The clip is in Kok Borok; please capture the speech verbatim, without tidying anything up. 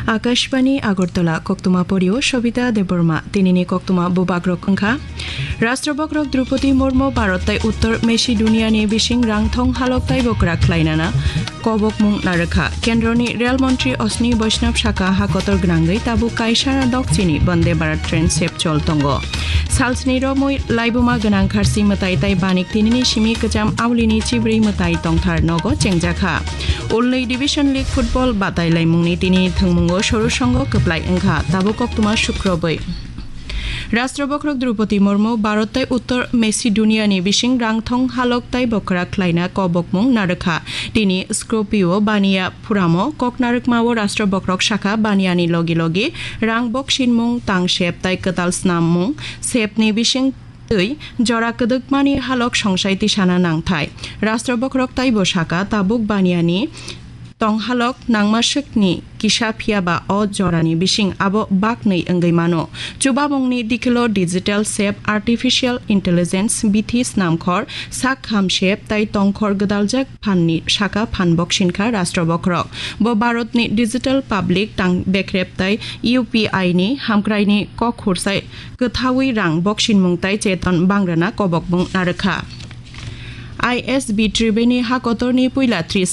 Akashbani Agartala, koktwma porio Sobita Debbarma. Tinini koktwma bubagrok wngkha: Rashtrabok rok Draupadi Murmu Bharat tai Uttor Macedonia ni bising rangthong halok taibo kwrak khlainana kobokmung narwkha. Kendroni Rail Montri Ashwini Vaishnav saka ha kotor gwnangwi tabuk kaisa dokchini Vande Bharat train sepchol tongo. Salsni romwi laibuma gwnang kharsi mwtai tai banik tinini simi kwcham aulini chibrwi mwtai tongthar nogo chengjakha. Ulnwi Division League football batai laimungni tini thwngmungo soru songo kwplai wngkha, tabuk koktwma sukrobwi. Rashtrabok rok Draupadi Murmu Bharat tai Uttor Macedonia ni bising rangthong halok taibo kwrak khlaina kobokmung narwkha. Tini Skopje o baniya phuramo kok narwkmao Rashtrabok rok saka baniyani logi logi rang boksinmung, tang sep tai kwtal snammung sepni bising twi jora kwdwkmani halok songsai tisana nangthai. Rashtrabok rok taibo saka tabuk baniyani tong halok nangma swkni kisa phiyaba o jorani bising abo baknwi wngwi mano. Chubamungni dikilo digital sep, artificial intelligence, bithi snamkhor, sak kham sep tai tongkhor gwdaljak phanni saka phan boksinkha Rashtrabok rok. Bo Bharatni digital public tang bekrep tai U P I ni hamkraini kok khursai kwthawi rang boksinmung tai cheton bangrana kobokmung narwkha. I S B Triveni ha kotorni puila tris